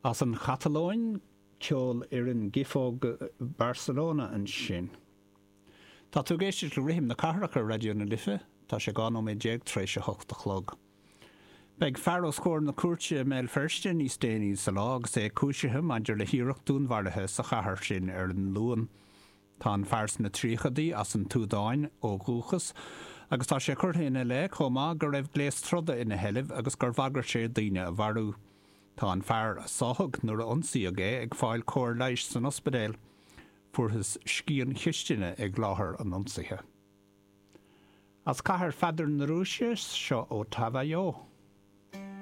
As an Chatalóin, Ceolfhoireann Giofóg Barcelona ansin. Tá tú ag éisteacht le Rithim na Cathrach ar Raidió na Life. Tá sé 12 nóiméad tar éis a hocht a chlog. Beidh fear os comhair na cúirte i mBéal Feirste níos déanaí sa lá agus é cúisithe maidir le hiarracht dúnmharaithe sa chathair sin ar an Luan. Tá an fear sna tríochaidí as an tSúdáin ó dhúchas agus tá sé curtha ina leith chomh maith go raibh gléas troda ina sheilbh agus gur bhagair sé daoine a mharú. Tá an fear a sáthadh nuair a ionsaíodh é ag fáil cóir leighis san ospidéal. Fuarthas scian chistine ag láthair an ionsaithe. As Cathair Pheadair na Rúise, seo Otavio.